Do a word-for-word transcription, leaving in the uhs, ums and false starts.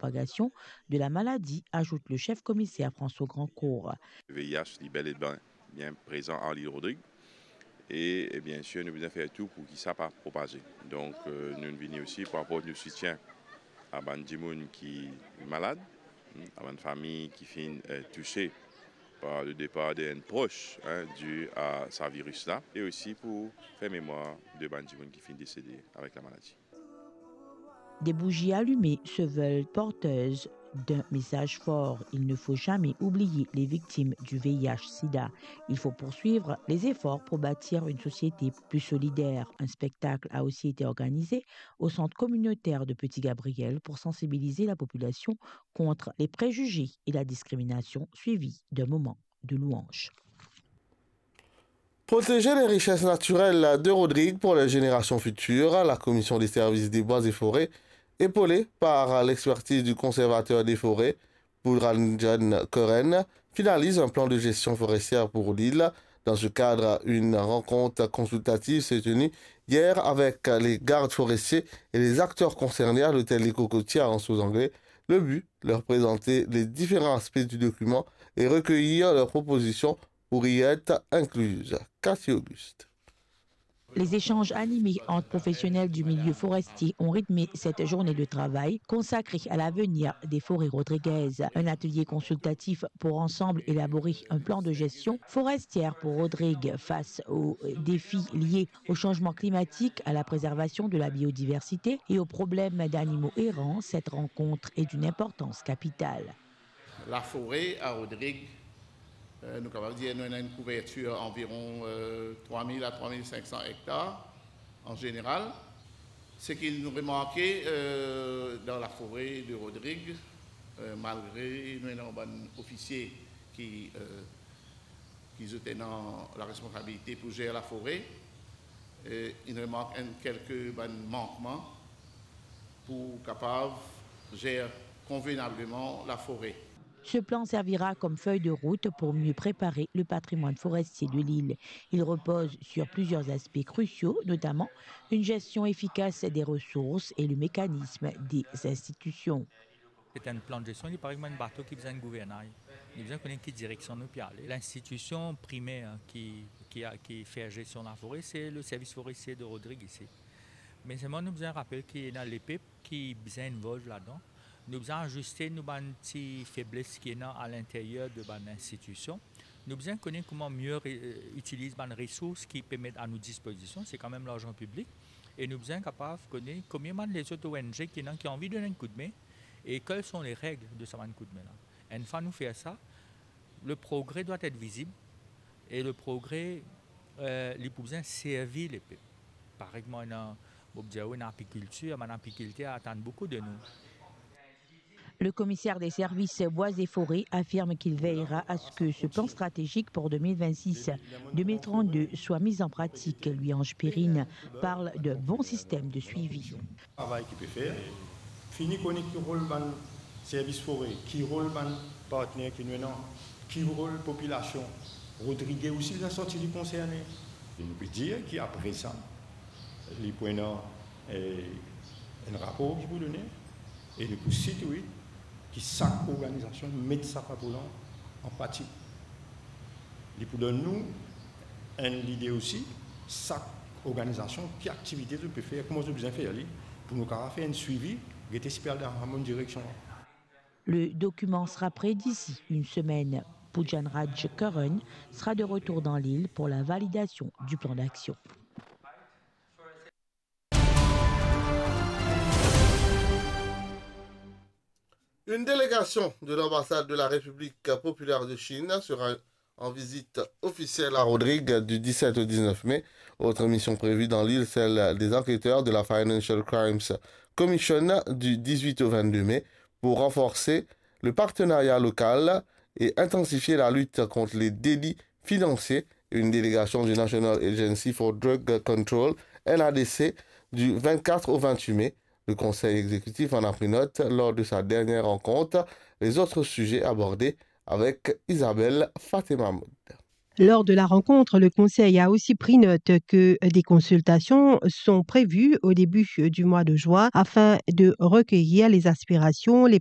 propagation de la maladie, ajoute le chef commissaire François Grandcourt. Le V I H, li bel e bien, bien prezan ar Lil Rodrig. E, e bien sir, nou bizin fer tou pou ki sa pa propaze. Donk, euh, nou vini osi pou aport nou soutien a bann dimoun ki malad, hmm, a bann fami ki finn, euh, touse par le départ d'un proche, hein, dû à sa virus-là, et aussi pour faire mémoire de bann dimoun ki finn desede avek la maladi. Des bougies allumées se veulent porteuses d'un message fort. Il ne faut jamais oublier les victimes du V I H sida. Il faut poursuivre les efforts pour bâtir une société plus solidaire. Un spectacle a aussi été organisé au centre communautaire de Petit Gabriel pour sensibiliser la population contre les préjugés et la discrimination, suivi d'un moment de louange. Protéger les richesses naturelles de Rodrigues pour les générations futures, la Commission des services des bois et forêts, épaulée par l'expertise du conservateur des forêts, Poojaranjan Curran, finalise un plan de gestion forestière pour l'île. Dans ce cadre, une rencontre consultative s'est tenue hier avec les gardes forestiers et les acteurs concernés à l'hôtel Les Cocotiers à Anse aux Anglais. Le but, leur présenter les différents aspects du document et recueillir leurs propositions pour y être incluses. Cathy Auguste. Les échanges animés entre professionnels du milieu forestier ont rythmé cette journée de travail consacrée à l'avenir des forêts rodriguaises. Un atelier consultatif pour ensemble élaborer un plan de gestion forestière pour Rodrigues face aux défis liés au changement climatique, à la préservation de la biodiversité et aux problèmes d'animaux errants. Cette rencontre est d'une importance capitale. Lafore a Rodrig, eh, nou kapav dir nou ena enn kouvertir anviron, eh, trwa mil a trwa mil sink san ektar an zeneral. Seki nou remarke, eh, dan lafore de Rodrig, eh, malgre nou ena bann ofisie ki, eh, ki zot ena laresponsabilite pou zer lafore, eh, inn remark enn kelke bann mankman pou kapav zer konvenableman lafore. Ce plan servira comme feuille de route pour mieux préparer le patrimoine forestier de l'île. Il repose sur plusieurs aspects cruciaux, notamment une gestion efficace des ressources et le mécanisme des institutions. Se enn plan de gestion, li parey kouma enn bato ki bizin enn gouvernay. Nou bizin kone ki direksion nou pe ale. Linstitision primer ki, ki, ki fer gestion lafore, se le Service Forestier de Rodrig isi. Me selman nou bizin rapel ki ena lepep ki bizin involve ladan. Nou bizin aziste nou bann ti febles ki ena alinteryer de bann institision. Nou bizin kone kouma mie re-, itiliz bann resours ki pe met a nou dispozision, se kanmem larzan piblik. E nou bizin kapav kone konbien bann lezot O N G ki ena ki anvi donn enn koudme, e quelles sont les règles de sa bann koudme la. Enn fwa nou fer sa, le progrès doit être visible, e le progrès, eh, li pou bizin servi lepep. Parey kouma ena, mo pou dir ou, ena apikiltir, bann apikilter atann boukou de nou. Le commissaire des services bois et forêts affirme qu'il veillera à ce que ce plan stratégique pour deux mille vingt-six deux mille trente-deux soit mis en pratique. Louis-Ange Perrine parle d'un bon système de suivi. Travay ki pe fer, fini kone ki rol bann servis fore, ki rol bann partner ki nou ena, ki rol popilasion. Rodrig osi bizin santi li konserne. E nou pe dir ki apre sa, li pou ena, eh, enn rapor ki pou done, e li pou sitwit ki sak organizasion met sa rapor la an pratik. Li pou donn nou enn lide osi, sak organizasion, ki aktivite zot pe fer, kouma zot bizin fer li, pou nou kapav fer enn swivi, gete si pe al dan sa mem direksion la. Le document sera prêt d'ici une semaine. Poojaranjan Curran sera de retour dans l'île pour la validation du plan d'action. Une délégation de l'ambassade de la République populaire de Chine sera en visite officielle à Rodrigues du dix-sept au dix-neuf mai. Autre mission prévue dans l'île, celle des enquêteurs de la Financial Crimes Commission du dix-huit au vingt-deux mai pour renforcer le partenariat local et intensifier la lutte contre les délits financiers. Une délégation du National Agency for Drug Control, N A D C, du vingt-quatre au vingt-huit mai. Le Conseil exécutif en a pris note lors de sa dernière rencontre. Les autres sujets abordés avec Isabelle Fatema Mahmoud. Lors de la rencontre, le Conseil a aussi pris note que des consultations sont prévues au début du mois de juin afin de recueillir les aspirations, les